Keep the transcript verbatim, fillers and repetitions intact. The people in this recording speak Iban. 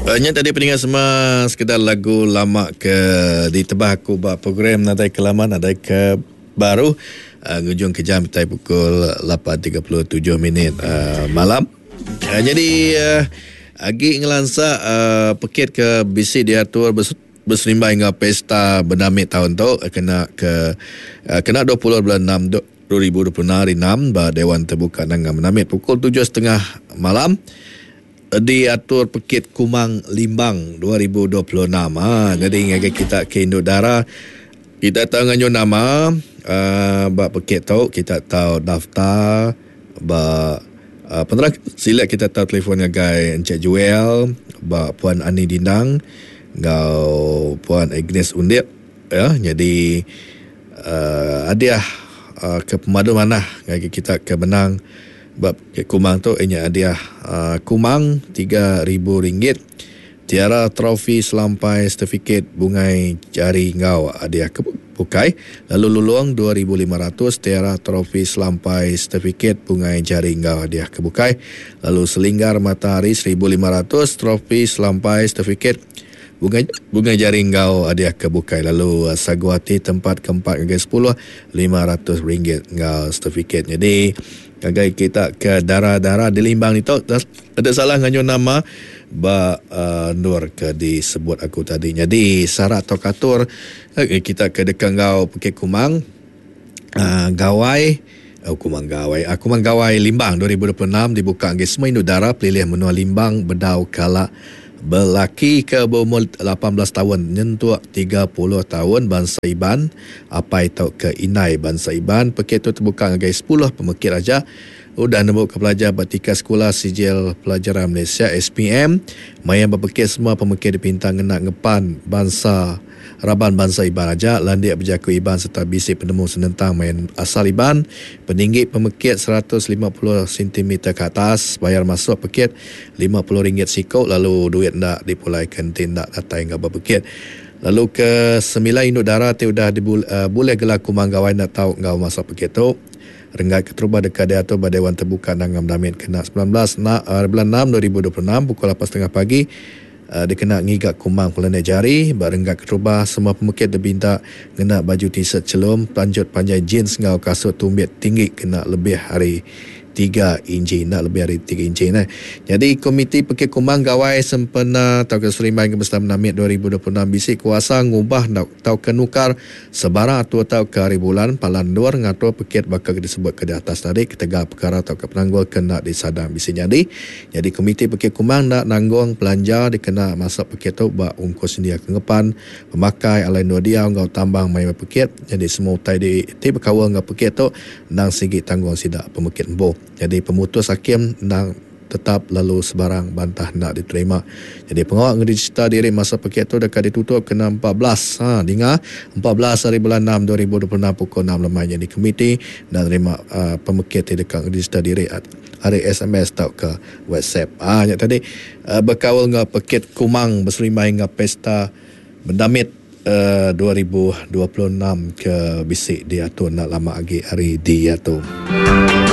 Nya tadi peninga semua sekedar lagu lama ke ditebah aku ba program Nadai Ke Lama Nadai Ke Baru uh, ngujung ke jam tai pukul lapan tiga puluh tujuh minit uh, malam. Uh, jadi uh, agi ngelansa uh, pekit ke bisi diatur bes- berserimbai dengan pesta bernamit tahun tu kena ke uh, kena dua puluh bulan enam dua ribu dua puluh enam hari enam ba Dewan Terbuka Nanga Menamit pukul tujuh tiga puluh malam diatur Pekit Kumang Limbang dua ribu dua puluh enam. Ha, jadi ngagai kita ke Induk Dara, kita tahu nganyu nama uh, ba pekit tu, kita tahu daftar ba uh, penerang sila kita tahu telefon ngagai Encik Joel, ba Puan Ani Dindang ngau Puan Agnes Undip ya. Jadi uh, hadiah uh, ke pemadu manah ngagai kita ke menang bab Kumang tu inya hadiah uh, Kumang tiga ribu ringgit, tiara trofi selampai sertifikat bungai jari ngau hadiah ke bukai, lalu lulung dua ribu lima ratus tiara trofi selampai sertifikat bungai jari ngau hadiah ke bukai, lalu selinggar matahari seribu lima ratus trofi selampai sertifikat bungai bungai jari ngau hadiah ke bukai, lalu uh, saguati tempat keempat hingga sepuluh lima ratus ringgit ngau sertifikat. Jadi kagai kita ke darah-darah di Limbang itu ada salah nganyu nama ba uh, nur ke disebut aku tadi. Jadi syarat atau katur eh, kita ke dekat ngau Pekit Kumang uh, Gawai oh, Kumang Gawai uh, Kumang Gawai Limbang dua ribu dua puluh enam dibuka ngi semua induk dara pelilih menua Limbang bedau kala belaki ke berumur lapan belas tahun nyentuk tiga puluh tahun bangsa Iban apai tau ke inai bangsa Iban. Pekit tu terbuka ngagai sepuluh pemekit aja. Udah nemu ke pelajar batika sekolah sijil pelajaran Malaysia S P M. Maya berpekit semua pemekit dipinta ngena ngepan bangsa raban bangsa Iban aja, landik berjaku Iban serta bisi penemu senentang main asal Iban. Peninggi pemekit seratus lima puluh sentimeter ke atas, bayar masuk pekit lima puluh ringgit sikok, lalu duit ndak dipulaikan tindak datai ngau berpekit. Lalu ke sembilan induk dara ti udah dibul, uh, boleh gelar Kumang Gawai nak tau ngau masuk pekit tu. Renggat keterubah dekat diatur ba Dewan Terbuka Nangam Damit kena sembilan belas na, uh, bulan enam dua ribu dua puluh enam pukul lapan tiga puluh pagi. Uh, dikena ngigak kumang pelenek jari. Ba renggat keterubah semua pemekit dibinta ngena baju t-shirt celum, lanjut panjai jeans ngau kasut tumbit tinggi kena lebih hari tiga inci, nak lebih hari tiga inci nah. Jadi Komiti Pekit Kumang Gawai sempena tau ke Serimbai Kebesar Menamit dua ribu dua puluh enam bisi kuasa ngubah tau ke nukar sebarang atur tau ke hari bulan palan luar ngatur pekit bakal disebut ke di atas tadi ketegal perkara tau ke penanggul kena disadang bisi jadi. Jadi Komiti Pekit Kumang nak nanggung belanja dikena masuk pekit tu ba ungkus dia kengepan pemakai alai dua dia ngau tambang mai pekit. Jadi semua utai di ti berkawal ngau pekit tu nang sigi tanggung sidak pemekit embo. Jadi pemutus hakim nang tetap lalu sebarang bantah nak diterima. Jadi pengawal ngeregister diri masa pekit tu dekat ditutup kena empat belas. Ha, dengar empat belas hari bulan enam dua ribu dua puluh enam pukul enam lemai. Jadi komiti dan terima uh, pemekit ti dekat ngeregister diri hari S M S atau ke WhatsApp. Ha, yang tadi uh, berkawal ngau pekit Kumang berserimbai ngau pesta bendamit uh, dua ribu dua puluh enam ke bisik diatur nak lama lagi hari diatur.